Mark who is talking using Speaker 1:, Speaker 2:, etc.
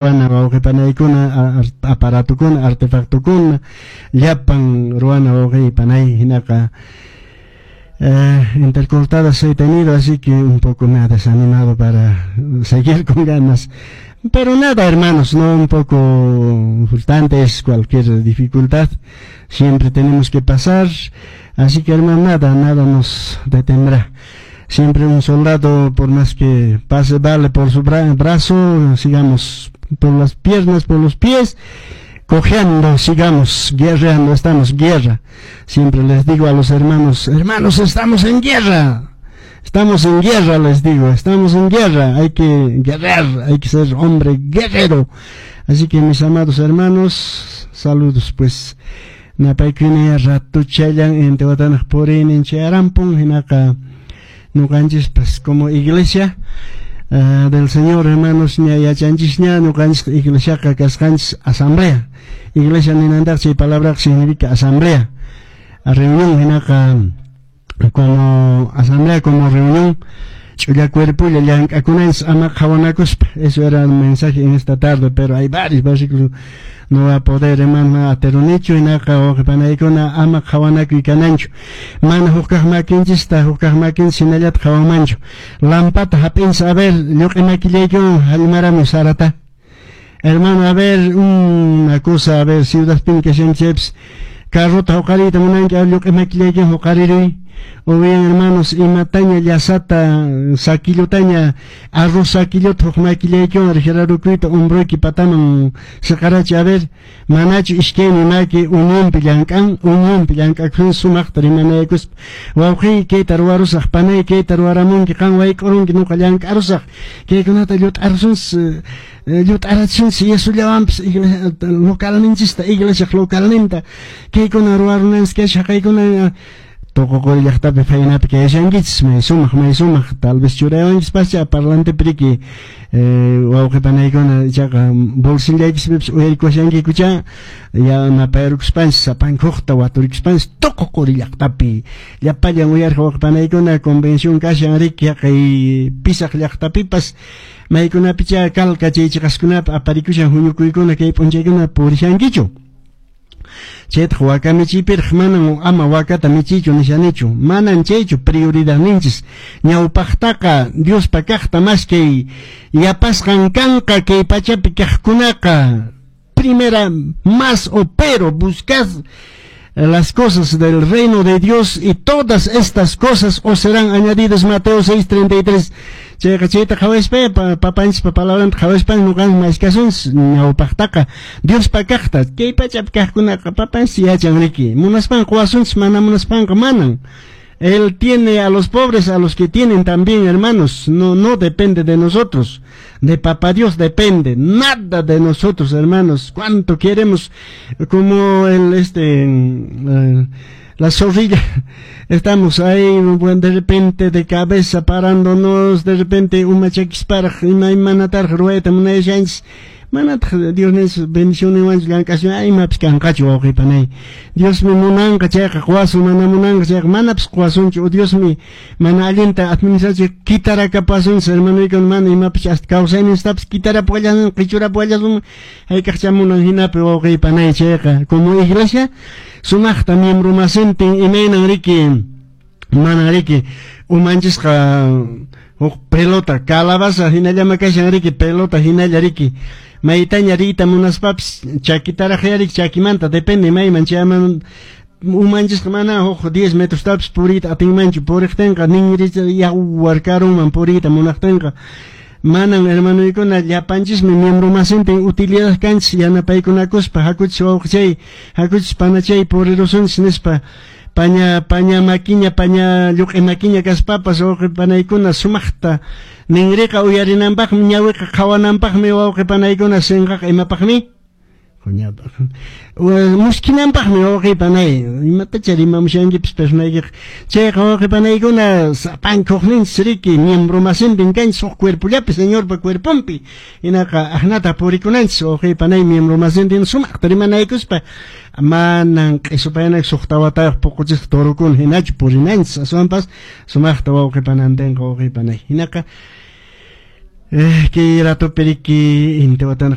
Speaker 1: Ruwana wawqipanaykuna, aparatukuna, artefactokuna, llapan ruwana wawqipanay hinaqa intercortadas he tenido, así que un poco me ha desanimado para seguir con ganas. Pero nada, hermanos, no, un poco frustrante es cualquier dificultad, siempre tenemos que pasar, así que, hermano, nada, nada nos detendrá. Siempre un soldado, por más que pase vale por su brazo, sigamos por las piernas, por los pies, cojeando, sigamos guerreando, estamos guerra. Siempre les digo a los hermanos: "Hermanos, estamos en guerra. Estamos en guerra", les digo, "estamos en guerra, hay que guerrear, hay que ser hombre guerrero". Así que, mis amados hermanos, saludos, pues. Napaykuna ratuchallan Intihuatanaq puriynin chayarampun, hinaqa ñuqanchispas como iglesia del Señor, hermanos, ña yachanchisña ñuqanchis iglesiaqa kasqanchis asamblea. Iglesia ninantaq chay palabra significa asamblea, reunión, hinaqa como asamblea, como reunión, ch'ulla cuerpolla llank'akunanchis ama qhawanakuspa. Eso era el mensaje en esta tarde, pero hay varios versículos, no va a poder, hermano, aterunichu. Hinaqa wawqipanaykuna ama qhawanakuy kananchu, mana hukkaq makinchista hukkaq makinchis hinallata qhawanmanchu. Lampata hap'inchis, a ver, lluq'i makillaykiwan hallmaramuy sarata, hermano. A ver, una cosa, a ver, ciudadpin kashanchaypis carrota huqariyta munanki, lluq'i makillaykiwan huqariruy. O bien, hermanos, imataña llasata saquillutaña, arroz saquilluta huk makillaykiwan riqirarukuyta hombroyki pataman siqarachi. A ver, manachu iskaymi maki unionpi llank'an? Unionpi llank'akun sumaqta rimanaykuspa: "Wawqiy, kayta ruwarusaq, panay, kayta ruwaramunki, qan wayk'urunki, nuqa llank'arusaq, kaykunata llut'arusunchis, llut'arachinchis yesullawanpis localninchista, iglesiaq localninta, kaykuna ruwarunanchis kasha, haqaykuna". Tuqu Quri llaqtapi phaynapi kayashankichis, may sumaq, may sumaq. Tal vez churawanchispascha parlantepi riki, wawqi panaykuna, ichaqa bolsillaykispipas uyarikushankikucha. Yanapayrukuspanchis sapankuqta waturikuspanchis Tuqu Quri llaqtapi llapallan uyariq wawqi panaykuna, convención kashan riki haqay Pisaq llaqtapipas, maykunapicha Calca chay chiqaskunapi aparikushan huñukuykuna kay p'unchaykuna. Purishankichu? Chaytaq waka michiypiraq manan ama wakata michiychu nishanichu, manan chaychu prioridadninchis. Ñawpaqtaqa Diospa kaqta maskay, yapasqan kanqa kay pachapi kaqkunaqa. Primera más o pero buscad las cosas del reino de Dios y todas estas cosas os serán añadidas, Mateo 6:33. Chayqa chayta qhawaspa papanchispa palabranta qhawaspa ñuqanchis maskasunchis ñawpaqtaqa Diospa kaqta. Kay pachapi kaqkunaqa papanchis yachan riki, munaspanqa quwasunchis, mana munaspanqa manan. Él tiene a los pobres, a los que tienen también, hermanos. No, no depende de nosotros. De Papá Dios depende. Nada de nosotros, hermanos. Cuánto queremos, como la zorrilla. Estamos ahí, bueno, de repente de cabeza parándonos, de repente uma chakisparaq, ima imanataraq ruwayta munayashanchis. Manataq Dios nis bendicionninwanchu llank'asun, imapis kanqachu, wawqi panay. Diosmi munanqa chayqa quwasun, mana munanqa chayqa manapis quwasunchu. Diosmi mana allinta administración kitarakapasunchis, hermanoykuna, mana imapis hasta kawsayninchistapis kitarapuwallasun, qichurapuwallasun hayk'aqcha munan hinapi, wawqi panay. Chayqa como iglesia sumaqta miembro masintin imaynan riki, manan riki umanchisqa huk pelota, calabaza hinallama kashan riki, pelota hinalla riki, maytaña riyta munaspapis chakitaraq riki, chakimanta depende mayman chayman. Umanchisqa mana huk 10 metrostapis puriyta atinmanchu, puriqtinqa ninri yawar karunman puriyta munaqtinqa. Manan, hermanoykuna, llapanchismi miembro masintin utilidad kanchis yanapaykunakuspa: "Hakuchis, wawqichay, hakuchis, panachay, purirusunchis", nispa. Paña makiña, paña lluq'i makiña kaspapas, wawqi panaykuna, sumaqta ninriqa uyarinanpaqmi, ñawiqa qhawananpaqmi, wawqi panaykuna, sinqaqa imapaqmi? Muskinanpaqmi, wawqi panay. Imatacha rimamushankipis personaykiqa. Chayqa, wawqi panaykuna, sapankuqninchis riki, miembro masintin kanchis huk cuerpollapi, Señorpa cuerponpi. Hinaqa aknata purikunanchis, wawqi panay, miembro masintin sumaqta rimanaykuspa, manan q'isupayanak suqta watayuq puquchisqa torokuna hinachu purinanchis, aswanpas sumaqta wawqi panantinqa, wawqi panay. Hinaqa Kay ratopi riki intiwatana.